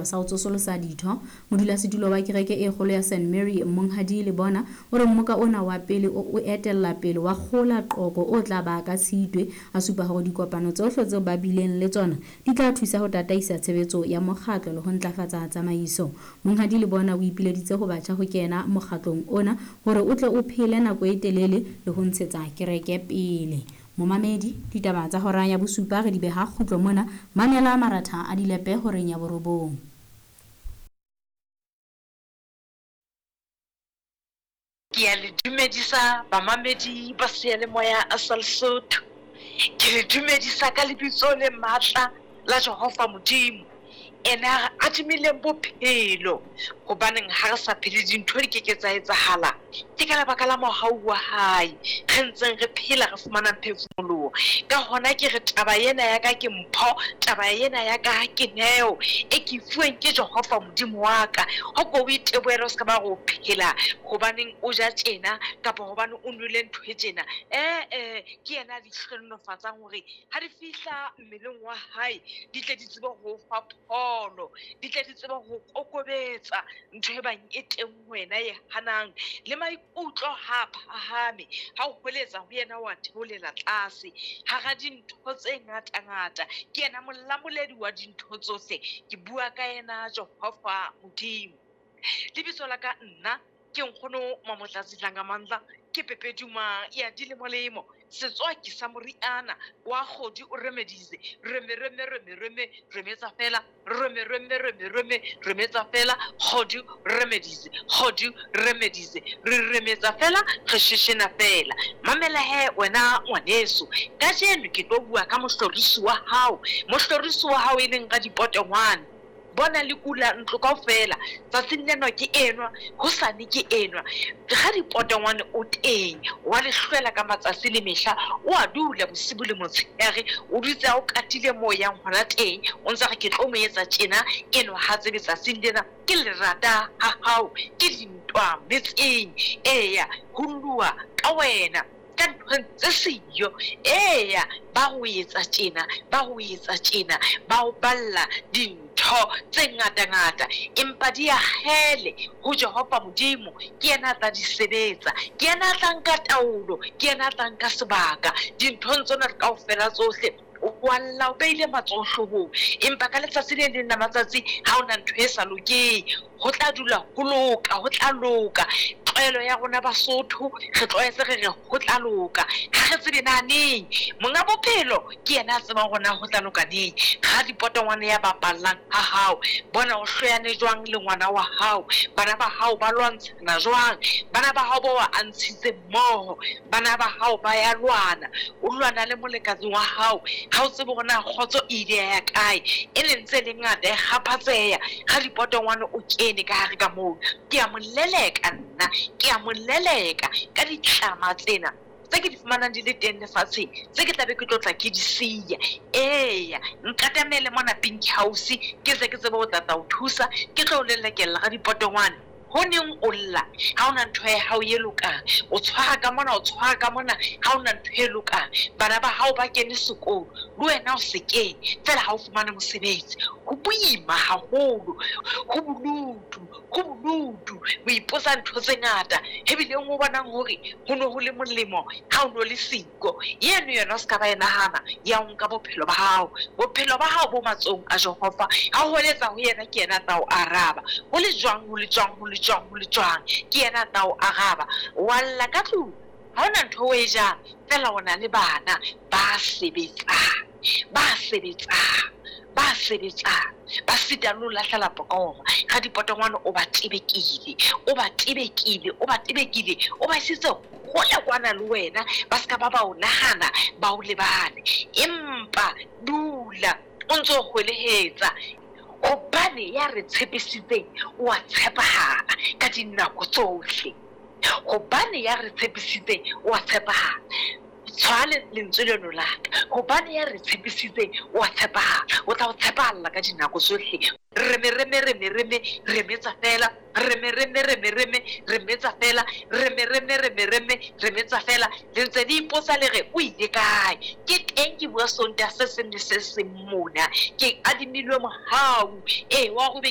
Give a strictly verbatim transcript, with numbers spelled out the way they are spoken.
sa ho tsosolosa ditho. Modulasetulo wa kereke e kgolo ya Saint Mary Monghadi Lebona o re mmoka ona wa pele o, o etella pele wa kgola Qoko o tla ba ka Tshitwe. A supa hore dikopano tsohle tseo ba bileng le tsona di tla thusa ho tataisa tshebetso ya mokgatlo le ho ntlafatsa tsamaiso. Monghadi Lebona o ipileditse ho batjha ho kena mokgatlong ona hore o tle o phele nako e telele le ho ntshetsa kereke pele. Momamedi, ditaba tsa hora ya bosupa re di beha kgutlo mona. Mamela maratha a dilepe horeng ya borobong. Ke a le dumedisa bamamedi ba seyalemoya sa Lesotho. Ke le dumedisa ka lebitso le matla la Jehova Modimo, ena a re adimileng bophelo. Hobaneng ha re sa phele dintho di keke tsa etsahala. Ke ka lebaka la mohau wa hae re ntseng re phela, re fumanang phefumoloho. Ka hona ke re taba ena ya ka ke mpho, taba ena ya ka ke neo e ke fuweng ke Jehova Modimo wa ka. Ho ko o itebohele, o se ka ba re o phela hobaneng o ja tjena kapa hobane o nwele ntho e tjena. Eh-eh, ke yena a di hlohonolofatsang hore ha di fihla mmeleng wa hae di tle di tsebe ho fa pholo, di tle di tsebe ho kokobetsa ntho e bang e teng ho wena e hanang. Le maikutlo ha a phahame, ha o hweletsa ho yena wa theolela tlase. Hara dintho tse ngata-ngata, ke yena molamoledi wa dintho tsohle. Ke bua ka yena Jehova Modimo. Lebitso la ka nna ke nkgono Mamotlatsi Dlangamandla, ke Pepeduma ya dilemolemo, setswaki sa moriana wa kgodi o remedize, reme reme reme reme remetsa fela, reme reme reme reme remetsa fela, kgodi remedize, kgodi remedize, re remetsa fela, re sheshena fela. Mamela he wena ngwaneso, kajeno ke tlo bua ka mohlorisi wa hao, mohlorisi wa hao e leng Radipotongwane. Bona le kula ntlo kaofela, tsatsing lena ke enwa, hosane ke enwa. Radipotongwane o teng, wa le hlwela ka matsatsi le mehla, o a dula bosibu le motshehare, o dutse a o katile moo yang hona teng, o ntsa re ke tlo mo etsa tjena, enwa ha tsebe tsatsing lena ke lerata ha hao, ke dintwa metseng, eya ho lluwa ka wena ka nthong tse siyo. Eya ba ho etsa tjena, ba ho etsa tjena, ba o balla dintho tse ngata-ngata, empa di a kgele ho Jehova Modimo. Ke yena a tla di sebetsa, ke yena a tla nka taolo, ke yena a tla nka sebaka dinthong tsona kaofela tsohle. Wa lla o beile matsoho hloohong, empa ka letsatsi le leng la matsatsi ha hona ntho e sa lokeng, ho tla dula ho loka, ho tla loka. Tlwaelo ya rona Basotho re tlwaetse re re ho tla loka, ha re tsebe na neng. Monga bophelo ke yena a tsebang hore na ho tla loka neng. Radipotongwane ya bapallang ha hao, bona o hloyane jwang le ngwana wa hao, bana ba hao ba lwantshana jwang, bana ba hao ba wa a ntshitse mmoho, bana ba hao ba ya lwana, o lwana le molekane wa hao, ha o tsebe hore na kgotso e ile ya kae, e le ntse le ngata e kgaphatseha. Radipotongwane o kene ka hare ka moo, ke a mo leleka nna, ke a mo leleka ka ditlama tsena tse ke di fumanang di le teng lefatsheng, tse ke tlabe ke tlo tla ke di siya. Eya, nkatamele mona Pink House, ke tle ke tsebe ho tla tla o thusa, ke tlo o lelekella Radipotongwane. Ho neng o lla ha hona ntho ya hao e lokang, o tshwara ka mona, o tshwara ka mona, ha hona ntho e lokang. Bana ba hao ba kene sekolo, le wena o se kene fela ha o fumane mosebetsi. Ho boima haholo, ho bolutu, ho bolutu. O ipotsa ntho tse ngata, ebileng o bonang hore ho no ho le molemo ha o no le siko. Eno yona o se ka ba e nahana ya ho nka bophelo ba hao. Bophelo ba hao bo matsohong a Jehova. Ha o hweletsa ho yena, ke yena a tla o araba. Ho le jwang, ho le jwang, ho le jwang, ho le jwang, ke yena a tla o araba. Wa lla ka tlung, ha hona ntho o e jang, fela o na le bana ba sebetsang, ba sebetsang, ba sebetsang, ba sita le ho lahlela pokoma. Radipotongwane o ba tebekile, o ba tebekile, o ba tebekile, o ba isitse hole kwana le wena, ba se ka ba ba o nahana, ba o lebale. Empa dula o ntso hwelehetsa, hobane ya re tshepisitseng o a tshepahala ka dinako tsohle. Hobane ya re tshepisitseng o a tshepahala. Tshwale lentswe leno la ka, hobane ya re tshepisitseng o a tshepahala, o tla o tshepahalla ka dinako tsohle. Reme reme reme reme remetsa fela, reme reme reme reme remetsa fela, reme reme reme reme remetsa fela. Le ntse le ipotsa le re o ile kae? Ke teng ke bua Sontaha se seng le se seng mona, ke adimilwe mohau e wa hore